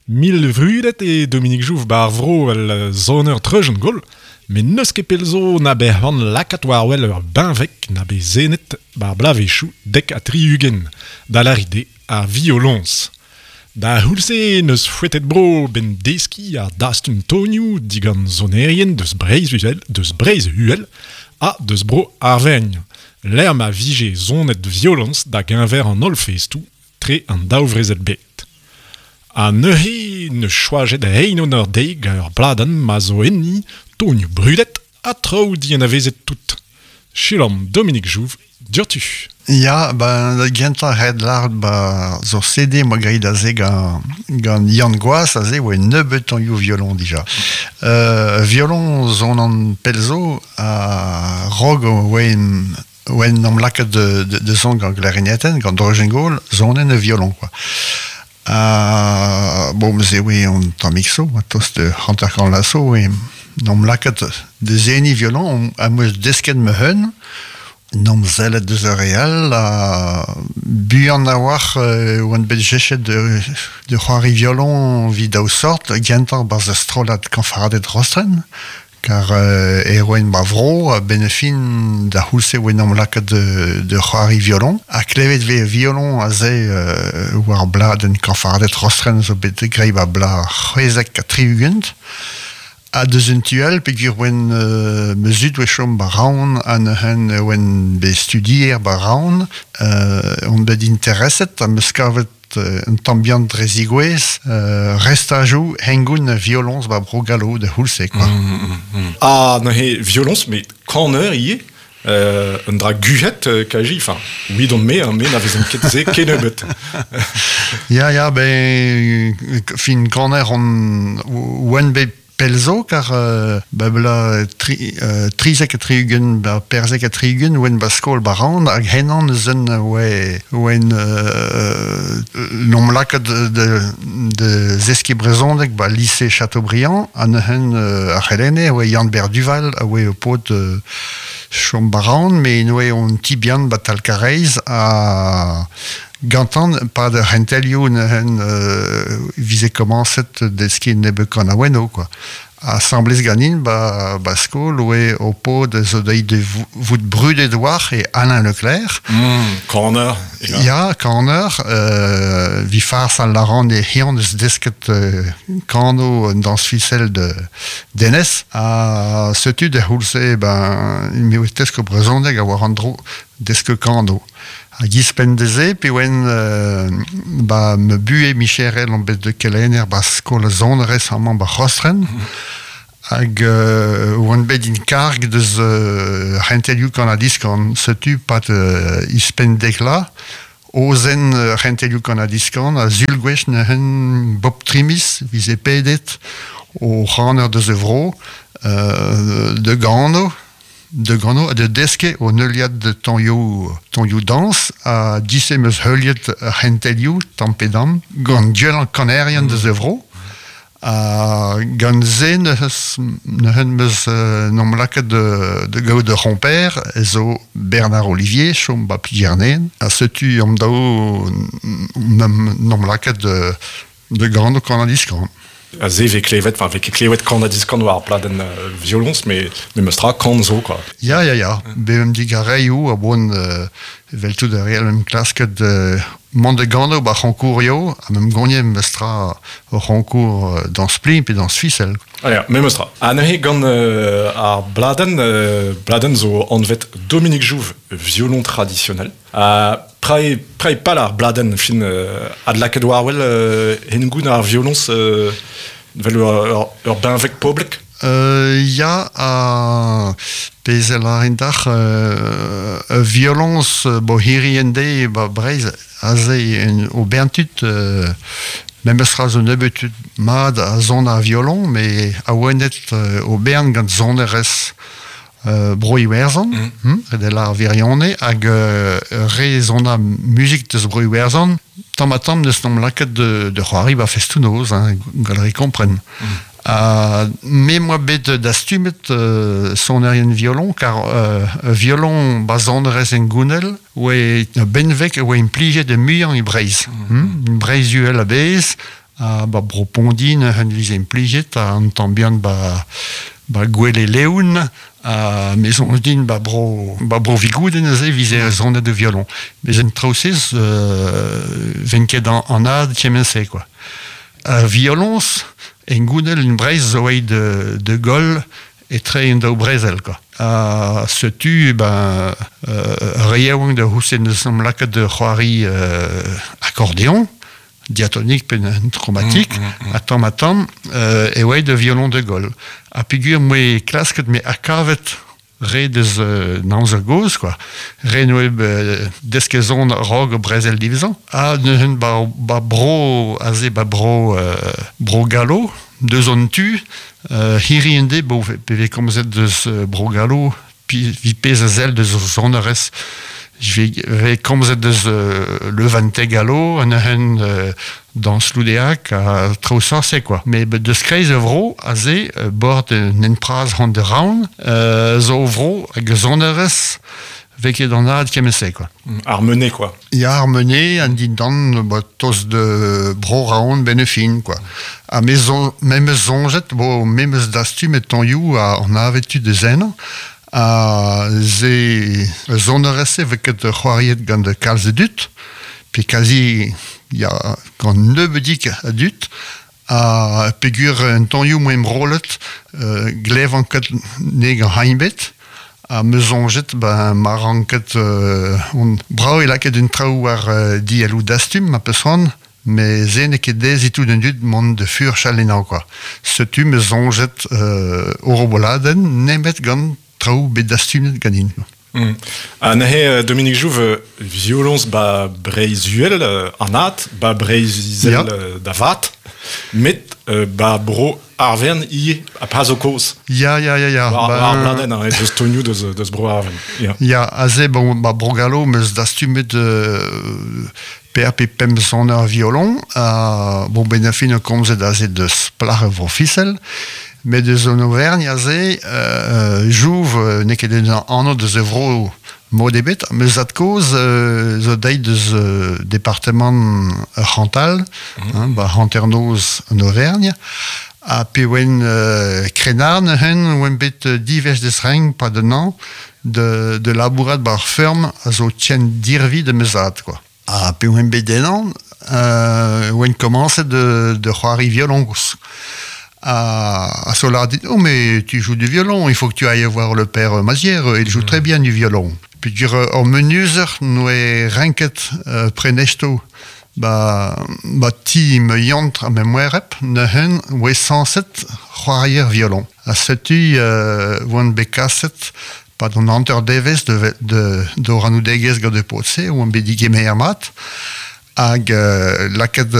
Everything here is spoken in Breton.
Mil vrudet eo Dominique Jouve 'ba ar vro 'vel soner treujenn-gaol, met n'eus ket pell zo na bet c'hoant lakaat war-wel ur benveg na bet senet 'bar bloavezhioù 70, da lâret eo ar violoñs. Da c'houlz-se 'neus foetet bro 'benn deskiñ ha dastum tonioù digant sonerien deus Breizh-Uhel deus Breizh-Uhel ha deus bro Arvergn, lec'h ma vije sonet violoñs da geñver an holl festoù tre an daou vrezel-bed. Ha neuze 'neus choajet reiñ honor dezhi gant ur bladenn ma zo enni tonioù brudet ha traoù dianavezet tout. Selaomp Dominique Jouve diouzhtu. Ya, ba da gentañ ret lâret ba zo CD 'moa graet aze gant gant Yann Goas aze oa nebeut tañioù violon dija. Violon 'zonan pell zo ha 'raok oa oa 'n em lakaet da son gant klarinetenn, gant Dreujenn-Gaol, sonen e violon quoi. Ha bon, neuze oa un tammig so, tost 50 vloaz zo, oa 'n em lakaet da seniñ violon am eus desket ma-un, 'n em sellet deus ar re all ha buan a-walc'h oan bet jechet da c'hoari violon evit daou sort, gentañ 'barzh ur strollad kañfarded Rostren, Kar e roen ma vro a-benn ar fin da c'houlz-se oa en em lakaet da c'hoari violon. Ha klevet 'vez violon aze war bladenn kañfarded Rostren zo bet graet 'ba bloaz 76. Ha deus un tu all peogwir oan ma zud oa chom 'ba Raon ha neuze oan bet studier 'ba Raon on bet intereset ha 'm eus kavet un tamm bihan dre zigouez restajoù hengoun violoñs ba bro Gallo da c'houlz-se quoi. Ah neuze violoñs met kaneur ivez un dra guzhet kaji enfin oui don me me na vezan ket se kennebeut. Ya ya ben fin kaner on oan bet Pell zo, kar ba bloaz tri, 73, ba 74 oen ba skol ba Ran, hag henan eus un oe oen n'omp lakaet de, de zeskiñ brezhoneg ba lise Chateaubriand, ha neuzen ar c'helenne oe Yann-Ber Duval a oe o paotr chom ba Ran, met oe on ti bihan ba Talkareiz ha Gantan, pad ar c'hentelioù neuzen vize komañset deskiñ nebeut kanaouennoù quoi. Asambles ganin ba, ba skol oe ho paotr zo deuet da vout brudet war e Alain Leclerc. Kaner. Ya, kaner. Vi fars al laran e hian eus desket kano un dañs fisel de Denez. Ha setu da c'houlz-se ben, me oe tesk brezhoneg a war an dro desk kano. Hag ouzhpenn dezhe, pe oen ba ma buhez micherel on bet kelenner ba skol sonerezh amañ ba Rostren. Hag oan bet in karg deus c'hentelioù kanadiskan. Setu pad ouzhpenn dek vloaz, ozenn c'hentelioù kanadiskan ha sul gwech neuzen bop tri miz 'vize pedet o c'haner deus e vro da gano. Da gano ha da deskiñ o neuliad tonioù tonioù dañs ha dise 'm eus heuliet ar c'hentelioù tamm pe damm gant gwellañ kanerien deus e vro ha gant se neuze 'm eus n'omp lakaet da gaout ur c'homper zo Bernard Ollivier chom 'ba Plougerne ha setu an daou n'omp lakaet da gano kan-ha-diskan. Aze 'vez klevet, enfin 'vez ket klevet kan-ha-diskan war ar pladenn violoñs, met memes tra kan zo quoi. Ya, ya, ya. Bemp digareioù a boan evel tout ar re all em klasket mont da gano ba c'honkourioù ha me'm gagné memes tra o c'honkour dañs plin pe dañs fisel. Ah ya, memes tra. Ha neuze gant ar bladenn, bladenn zo anvet Dominique Jouve, violon traditionnel. Ha prai, prai pal ar bladenn fin adlakaet war wel hengoun ar violoñs vel ur, ur benveg poblek? Ya, ha pezh a lârin dac'h, violoñs bo hiriv en deiz ba Breizh, aze o bern tud, memes tra zo nebeut tud mat a son ar violoñ, met awenet o bern gant sonerezh Bro-Iwerzhon, ret ar wirionez, hag re zona muzik deus Bro-Iwerzhon, tamm-ha-tamm neus nomp lakaet de c'hoari ba festoù-noz, hein, gall kompren. Ha me 'moa bet dastumet sonerien violon, kar violon ba sonerezh hengounel oe benveg e oa implijet muiañ e Breizh. Breizh-Uhel a-bezh. Ha ba bro Pondi neuze vize implijet, ha an tamm bihan ba, ba Gwele Leoun, ha me soñj din ba bro, ba bro Vigouden neuze vize sonet de violon. Mes en traoù-se ven ket an, an ad kement-se, quoi. Ar violoñs en gounel en Breizh zo aet de, de goll etre en daou brezel, quoi. Ha setu, ben, re yaouank da c'housen neus am lakaet de c'hoari accordéon, diatonik pe chromatik, ha tamm ha tamm, e oa de violon de goll. Ha peogwir moe klasket me akavet re deus nañzer gozh, quoi. Re noe desket zon a-raok brezel diwezhañ. Ha neuze ba, ba bro, aze ba bro, bro Gallo, deus an tu, hiri en de, bo, pe vez komzet deus bro Gallo, pi, vi pezh a sell deus sonerezh. Je vais komzet deus Levante Gallo, an neuze dans Loudeac ha traoù sorse, quoi. Mais deus kreiz a vro, aze, bord n'en praz hon de raon, zo vro hag sonerezh vez ket an ad kement-se, quoi. Ar menet, quoi. Ya, ar menet, an dindan, ba, tost de bro raon benefin, quoi. Ha me zo, me meus soñjet, bo, me meus dastumet tonioù a an avet tud de zen, ha ze sonerezh-se vez ket c'hoariet gant kalz a dud, pe kazi, ya, gant nebeudik a dud, ha peogwir un tonioù moa emrollet, glevan ket ne gant hain bet, ha me soñjet, ben, ma ranket, on brao e lakaet un traoù war dielloù dastum, ma peus c'hoant, mais se n'eo ket dezhi tout an dud mont de furchal ennañ, quoi. Setu me soñjet oroboladenn nemet gant traoù bet dastumet ganin. Ha neuze, Dominique Jouve, violoñs ba Breizh-Uhel, an ad, ba Breizh-Izel da vat, met ba bro Arvern ivez, ha pa zo kozh. Ya, ya, ya, ya. War, war bladenn, hein, deus tonioù deus bro Arvern. Ya. Ya, aze, bon, ba bro Gallo, meus dastumet PRP pemp soner violon, ha bon, ben a fin o komzet aze deus plac'h vro Fisel, met deus an Auvergne aze, Jouve, n'eo ket un anv deus e vro mod ebet, meus ad-kozh zo deit deus departement Chantal, hein, ba hanternoz an Auvergne, ha pe oen krennard neuze, oen bet divez deus reng pa d'un an, de labourat bar ferm a zo tien dirvi de meus ad, quoi. Ha pe oen bet denan, oen komañset de c'hoari violoñs. Ha so lâret dit, oh mais tu joues du violon, il faut que tu ailles voir le père Mazière, il joue très bien du violon. Puis dire, ur menuzer noe renket prenesto ba ti me yantr ha me moereb neuze oe sañset c'hoarier violon. Ha setu oan bet kaset pad an hanter devezh de d'orannoudegezh gant e paotr-se, oan bet digemer mat, hag lakaet